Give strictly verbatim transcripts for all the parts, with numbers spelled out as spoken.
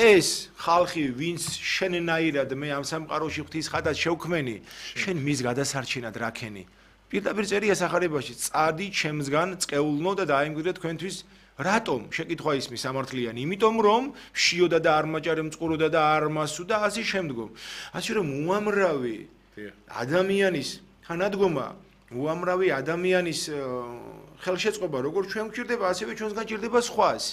ეს ხალხი ვინც შენნაირად მე ამ სამყაროში ღვთის ხადად შევქმენი შენ მის გადასარჩენად რაქენი პირდაპირ წერია სახარებაში წადი ჩემსგან წეულნო და დაემკვიდრე თქვენთვის რატომ შეკითხვა ისმის სამართლიანი იმიტომ რომ შიოდა და არ მაჭარე მწყუროდა და არ მასუდა ასე შემდგომ ასე რომ უამრავი ადამიანის თანადგომა უამრავი ადამიანის ხელშეწყობა როგორც ჩვენ გვჭირდება ასევე ჩვენს გაჭირდება სხვას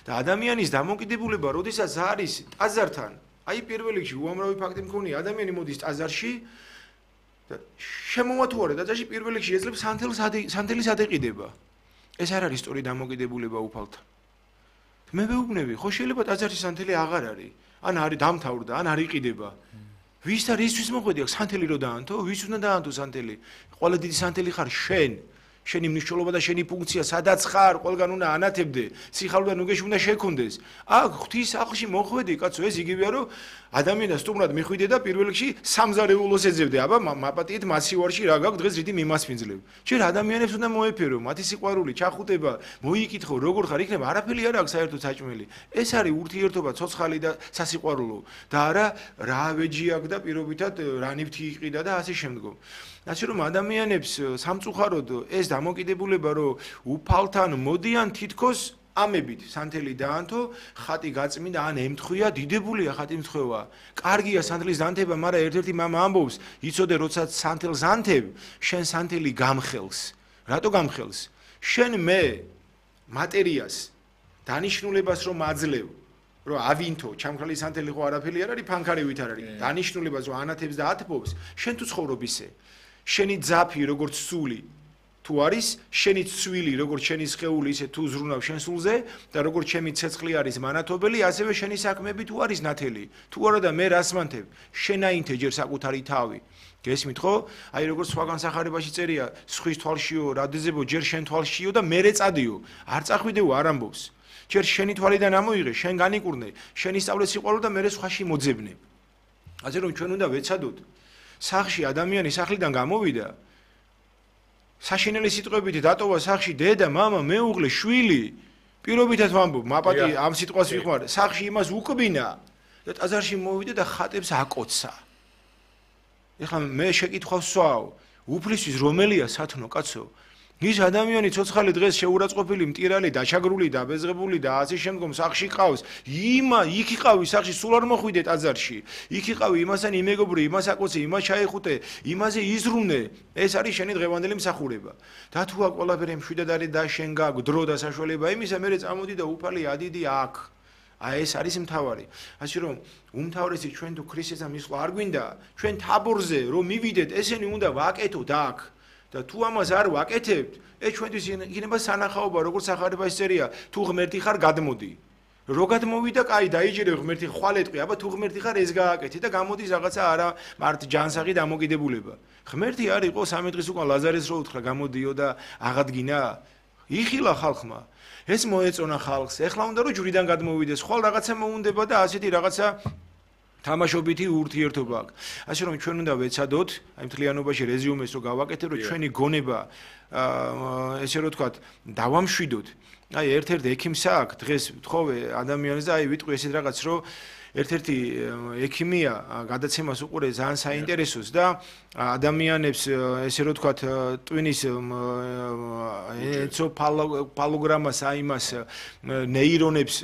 და ადამიანის დამოკიდებულება როდესაც არის ტაძართან აი პირველ რიგში უამრავი ფაქტი მქონია ადამიანი მოდის ტაძარში და შემოვათუარე ტაძარში პირველ რიგში ეძლებს სანთელს სანთელის ადეყიდება ეს არ არის სწორი დამოკიდებულება უფალთან მე ვეუბნები ხო შეიძლება ტაძარში სანთელი აღარ არის ან არის დამთავრდა ან არ იყიდება ვის და რისთვის მოხვედი აქ სანთელი რო დაანთო ვის უნდა დაანთო სანთელი ყველა დიდი სანთელი ხარ შენ შენი მნიშვნელობა და შენი ფუნქცია სადაც ხარ ყველგან უნდა ანათებდე სიხალვე ნუგეში უნდა შეკუნდეს აქ ღვთის სახლში მოხვედი კაცო ეს იგივეა რომ ადამიანს სტუმრად მიხვიდე და პირველ რიგში სამზარეულოს ეძებდე აბა მაპატიეთ მასივარში რა გაქვს დღეს რითი მიმასპინძლებ ჯერ ადამიანებს უნდა მოეფერო მათი სიყვარული ჩახუტება მოიკითხო როგორ ხარ იქნება არაფერი არ აქვს საერთოდ საჭმელი ეს არის ურთიერთობა ცოცხალი და სასიყვარულო და არა რა ვეჯი აქვს და პირობითად რა ნივთი იყიდა და ასე შემდგომ ასე რომ ადამიანებს სამწუხაროდ ეს დამოკიდებულება რომ უფალთან მოდიან თითქოს ამებით სანთელი დაანთო ხატი გაწმინდა ან ემთხვია დიდებულია ხატი მთხვევა კარგია სანთლის დანთება მაგრამ ერთ-ერთი მამა ამბობს იცოდე როდესაც სანთელს ანთებ შენ სანთელი გამხელს რატო გამხელს შენ მე მატერიას დანიშნულებას რომ აძლევ რომ ავინთო ჩამქრალი სანთელი ხო არაფერი არ არის ფანქარივით არ არის დანიშნულებას რომ ანათებს და ათბობს შენ თუ ცხოვრობ ისე შენი ძაფი როგორც სული თუ არის შენი ცვილი როგორც შენი სხეული ისე თუ ზრუნავ შენ სულზე და როგორც ჩემი ცეცხლი არის მანათობელი ასევე შენი საქმეები თუ არის ნათელი თუ არა და მე რას მანთებ შენაინთე ჯერ საკუთარი თავი გესმით ხო აი როგორც სხვაგან სახარებაში წერია სხვის თვალშიო რადიზებო ჯერ შენ თვალშიო და მერე წადიო არ წახვიდეო არ ამბობს ჯერ შენი თვალიდან ამოიღე შენ განიკურნე შენი სწავლე სიყვარული და მერე სხვაში მოძებნე ასე რომ ჩვენ უნდა ვეცადოთ სახში ადამიანი სახლიდან გამოვიდა საშინელი სიტყვებით დატოვა სახში დედა მამა მეუღლე შვილი პირობითად ვამბობ მაპატი ამ სიტყვას ვიხმარ სახში იმას უკბინა და ტაძარში მოვიდა და ხატებს აკოცა ეხლა მე შეკითხვას ვსვავ უფლისთვის რომელია სათნო კაცო ის ადამიანი ცოცხალი დღეს შეურაცხყოფილი მტირალი დაჩაგრული და აბეზღებული და ასე შემდგომ სახში ყავს იმა იქ იყავი სახში სულ არ მოხვიდე ტაძარში იქ იყავი იმასთან იმეგობრი იმას აკოცე იმას ჩაეხუტე იმაზე იზრუნე ეს არის შენი დღევანდელი მსახურება და თუ აქ ყველაფერი მშვიდად არის და შენ გაქვს დრო და საშუალება იმისა მე წამოდი და უფალი ადიდი აქ აი ეს არის მთავარი ასე რომ უმთავრესი ჩვენ თუ ქრისტესთან მისვლა არ გვინდა ჩვენ თაბორზე რომ მივიდეთ ესენი უნდა ვაკეთოთ აქ და თუ ამას არ ვაკეთებთ ეს ჩვენთვის იქნება სანახაობა როგორც სახარებაში წერია თუ ღმერთი ხარ გადმოდი რო გადმოვიდა კაი დაიჯერე ღმერთი ხვალეთყვი აბა თუ ღმერთი ხარ ეს გააკეთე და გამოდის რაღაცა არა მართ ჯანსაღი დამოკიდებულება ღმერთი არ იყო სამი დღის უკან ლაზარეს რო უთხრა გამოდიო და აღადგინა იხილა ხალხმა ეს მოეწონა ხალხს ეხლა უნდა რომ ჯვრიდან გადმოვიდეს ხვალ რაღაცა მოუნდება და ასეთი რაღაცა თამაშობითი ურთიერთობა აქვს. ასე რომ ჩვენ უნდა ვეცადოთ აი მთლიანობაში რეზიუმეს რო გავაკეთებ რომ ჩვენი გონება ესე რომ თქვა დავამშვიდოთ. აი ერთ-ერთ ექიმსა აქვს დღეს თხოვე ადამიანს და აი ვიტყვი ესეთ რაღაც რომ ერთ-ერთი ექიმია გადაცემას უყურე ძალიან საინტერესოს და ადამიანებს ესე რომ თქვა ტვინის ენცეფალოგრამას აიმას ნეირონებს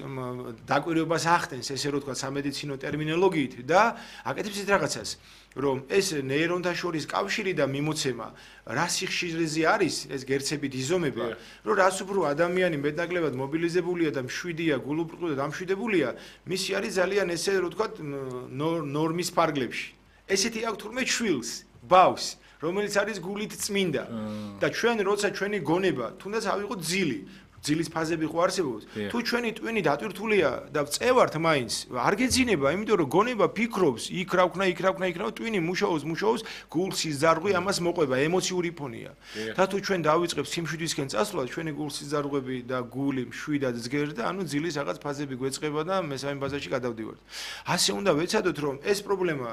დაკვირვებას ახდენს ესე რომ თქვა სამედიცინო ტერმინოლოგიით და აკეთებს ეს რაღაცას რომ ეს ნეირონთა შორის კავშირი და მიმოცემა რა სიხშირეზე არის ეს გერცებით იზომება რომ რას უფრო ადამიანი მეტნაკლებად მობილიზებულია და მშვიდია გულუბრყვილო და დამშვიდებულია მისი არის ძალიან ესე რომ თქვა ნორმის ფარგლებში ესეთი აქვს თურმე შვილს ბავს რომელიც არის გულით წმინდა და ჩვენ როცა ჩვენი გონება თუნდაც ავიღოთ ძილი ძილის ფაზები ხო არსებობს თუ ჩვენი ტვინი დატვირთულია და წევართ მაინც არ გეძინება იმიტომ რომ გონება ფიქრობს იქ რა ვქნა იქ რა ვქნა იქ რა ტვინი მუშაობს მუშაობს გულსის ზარღვი ამას მოყვება ემოციური ფონია და თუ ჩვენ დავიწყებთ სიმშვიდისკენ წასვლა ჩვენი გულსის ზარღვები და გული მშვიდად ზგერდა ანუ ძილის რაღაც ფაზები გვეწყება და მესამე ფაზაში გადავდივართ ასე უნდა ვეცადოთ რომ ეს პრობლემა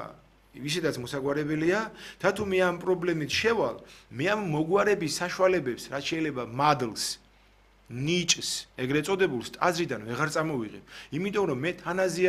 ვისაც მოსაგვარებელია და თუ მე ამ პრობლემით შევალ მე ამ მოგვარების საშუალებებს რაც შეიძლება მადლს ნიჭს ეგრეთ წოდებულს ტაძრიდან ვეღარ წამოვიღებ იმიტომ რომ მე თანაზე